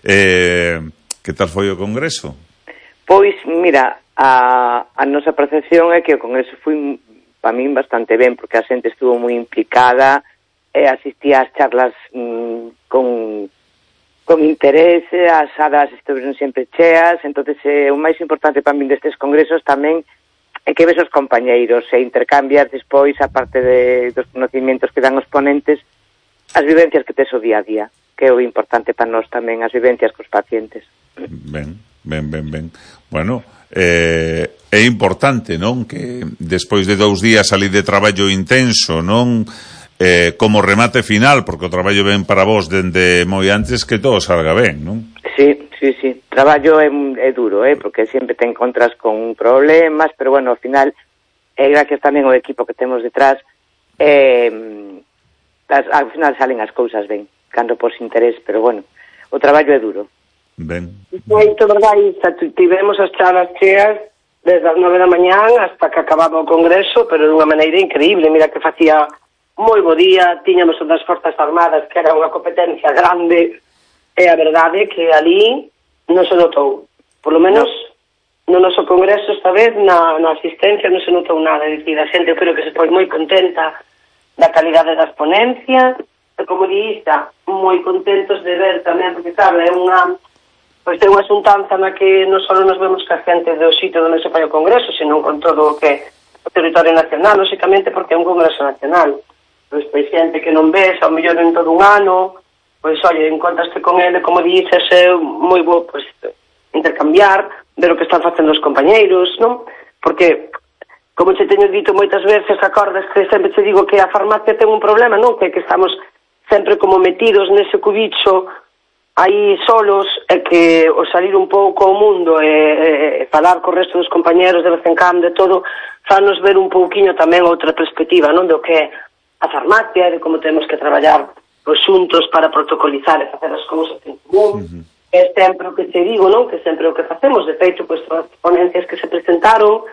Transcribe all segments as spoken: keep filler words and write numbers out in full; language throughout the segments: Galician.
Eh, que tal foi o congreso? Pois, mira, a, a nosa percepción é que o congreso foi para min bastante ben, porque a xente estuvo moi implicada, e asistía ás charlas mm, con, con interés, as salas estiveron sempre cheas, entonces eh, o máis importante para min destes congresos tamén é que ves os compañeiros e intercambias despois, a parte de, dos conocimientos que dan os ponentes, as vivencias que tes o día a día, que é o importante para nós tamén, as vivencias cos pacientes. Ben, ben, ben, ben. Bueno, eh, é importante, non? Que despois de dous días ali de traballo intenso, non? Eh, como remate final, porque o traballo ven para vos dende moi antes, que todo salga ben, non? Sí, sí, sí. Traballo é, é duro, eh? Porque sempre te encontras con problemas, pero bueno, ao final, é eh, gracias tamén ao equipo que temos detrás, eh, as, ao final salen as cousas ben, cando por interés, pero bueno, o traballo é duro. Ben. Moito verdade, tivemos as charlas cheas desde as nove da mañán hasta que acababa o congreso, pero dunha maneira increíble. Mira que facía moi bo día, tiñamos unhas Forzas Armadas que era unha competencia grande, e a verdade é que ali non se notou, por lo menos no noso congreso esta vez na, na asistencia non se notou nada, é dicir, a xente eu creo que se foi moi contenta da calidade das ponencias, e como diista, moi contentos de ver tamén, porque claro, é unha pois é unha xuntanza na que non só nos vemos ca xente do sitio onde se fai o congreso, senón con todo o que o territorio nacional, lóxicamente porque é un congreso nacional. Pois pois xente que non ves, ao mellor en todo un ano, pois, oye, encontraste con ele, como dices, é moi bo, pois, intercambiar, ver o que están facendo os compañeiros, non? Porque, como te teño dito moitas veces, acordas que sempre te digo que a farmacia ten un problema, non? Que, que estamos sempre como metidos nese cubicho aí solos, e que o salir un pouco ao mundo e, e falar co resto dos compañeros de vez en cando e todo, fanos ver un pouquiño tamén outra perspectiva, non? Do que é a farmacia, de como temos que traballar os xuntos para protocolizar e facer as cousas en común. Uh-huh. É sempre o que te digo, non? Que sempre o que facemos. De feito, pois, todas as ponencias que se presentaron,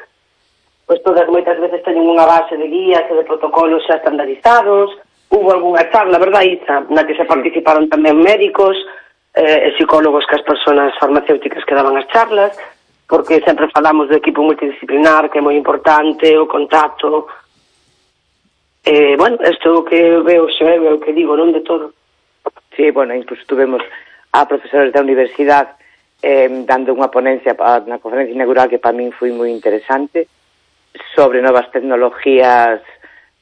pois todas moitas veces teñen unha base de guías e de protocolos xa estandarizados. Hubo algunha charla, verdad, Isa, na que se participaron tamén médicos eh, e psicólogos que as persoas farmacéuticas que daban as charlas, porque sempre falamos do equipo multidisciplinar, que é moi importante, o contacto. Eh, bueno, isto é o que veo, xe é o que digo, non de todo. Sí, bueno, incluso tuvemos a profesores da universidade eh, dando unha ponencia na conferencia inaugural que para min foi moi interesante sobre novas tecnologías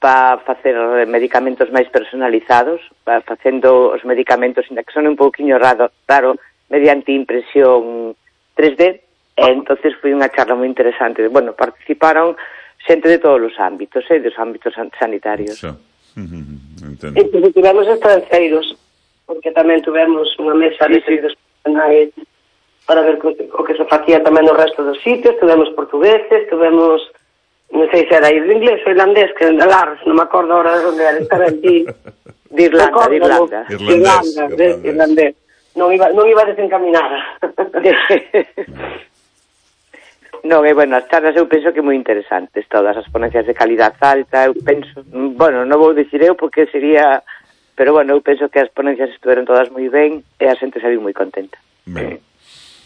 para facer medicamentos máis personalizados, para facendo os medicamentos que son un pouquiño raro, raro mediante impresión tres D, e entonces foi unha charla moi interesante. Bueno, participaron xente de todos os ámbitos, eh, dos ámbitos sanitarios. So. Mm-hmm. E pues, tivemos estranceiros, porque tamén tivemos unha mesa de sí, sí. para ver o que se facía tamén no resto dos sitios. Tivemos portugueses, tivemos, non sei se era inglés ou irlandés, que era Lars, non me acordo ahora de onde era, estaba aquí. De Irlanda, de Irlanda. Irlandés. Irlandés, irlandés. Non iba, non iba desencaminada. Non, e, bueno, as charlas eu penso que moi interesantes, todas as ponencias de calidad alta, eu penso, bueno, non vou dicir eu porque sería, pero bueno, eu penso que as ponencias estuveron todas moi ben e a xente saliu moi contenta. Ben.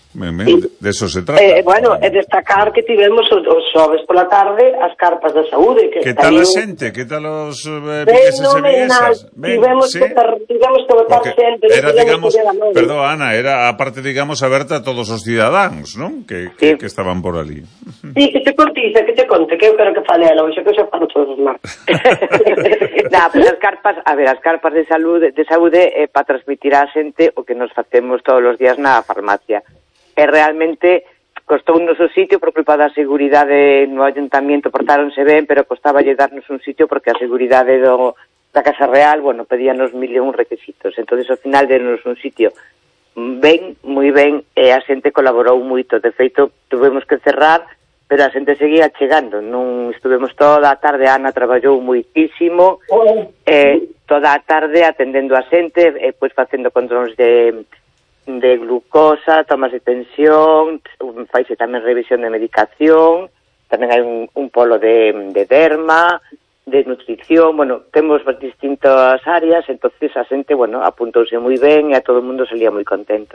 Ben, ben, de eso se trata. Eh, bueno, é destacar que tivemos os, os xoves pola tarde as carpas da saúde. Que, que tal a xente? Que tal os eh, vigueses e viguesas? Tivemos sí? que tivemos que votar xente. Era, digamos, perdón, Ana, era a parte, digamos, aberta a todos os cidadáns, non? Que, que, sí. que estaban por ali. Sí, que te contiza, que te conte, que eu quero que fale ela, hoxe que eu xa falo todos os martes. Nah, pues as carpas, a ver, as carpas de saúde, de saúde é eh, para transmitir á xente o que nos facemos todos os días na farmacia. E realmente costou un noso sitio por culpa da seguridade no ayuntamiento, portáronse ben, pero costaba lle darnos un sitio porque a seguridade do, da Casa Real, bueno, pedíanos mil e un requisitos. Entonces, ao final, denos un sitio ben, moi ben, e a xente colaborou moito. De feito, tuvemos que cerrar, pero a xente seguía chegando. Non estuvemos toda a tarde, a Ana traballou moitísimo, e toda a tarde atendendo a xente, e pois facendo controles de... de glucosa, tomas de tensión, faise tamén revisión de medicación, tamén hai un, un polo de, de derma, de nutrición, bueno, temos distintas áreas, entonces a xente, bueno, apuntouse moi ben e a todo o mundo salía moi contento.